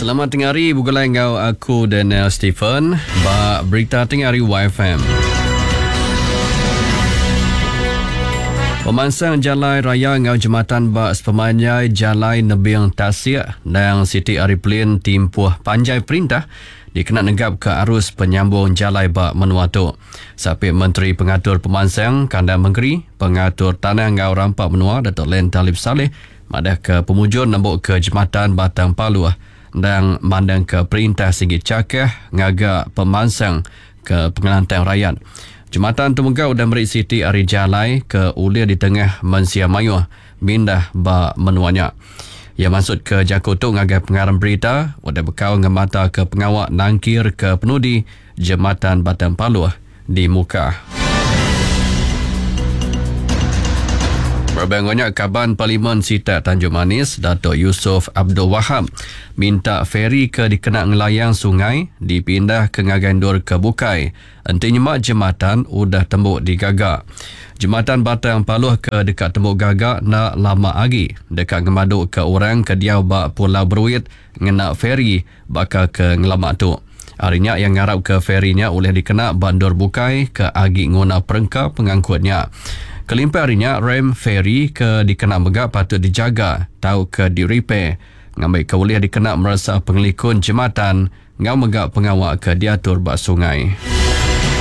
Selamat tengah hari begulai enggau aku Daniel Stephen ba Berita Tengah Hari YFM. Pemansang jalai raya enggau jematan ba sepemanjai jalai nebing tasik endang siti ari pelin timpuh panjai perintah dikena negapka arus penyambung jalai ba menua tu. Sapit Menteri Pengatur Pemansang Kandang Mengeri, Pengatur Tanah enggau Rampa Menua Datuk Len Talib Salleh madahka pemujur nembuka jematan Batang Paluh endang mandangka perintah sigi chakah ngaga pemansang ke pengelantang rayat. Jematan tu mega udah meri siti ari jalai ke ulih ditengah mensia mayuh mindah ba menua nya. Iya mansutka jaku tu ngagai pengarang berita udah bekau ngemataka pengawa nangkir ke penudi Jematan Batang Paluh di Mukah. Berebak enggau nya, Kaban Parlimen Sitak Tanjung Manis, Datuk Yusof Abdul Wahab minta feri ke dikena ngelayang sungai dipindahka ngagai endur ke bukai enti nyema jematan udah tembu digaga. Jematan Batang Paloh ke deka tembu gaga enda lama agi deka ngemaduka orang ke diau ba Pulau Beruit ngena feri baka ke ngelama tu. Ari nya iya ngarapka feri nya ulih dikena ba endur bukai ke agi nguna perengka pengangkut nya. Kelimpah ari nya, rem feri ke dikena mega patut dijaga tauka direpair ngambika ulih dikena meresa pengelikun jematan enggau mega pengawa ke diatur ba sungai.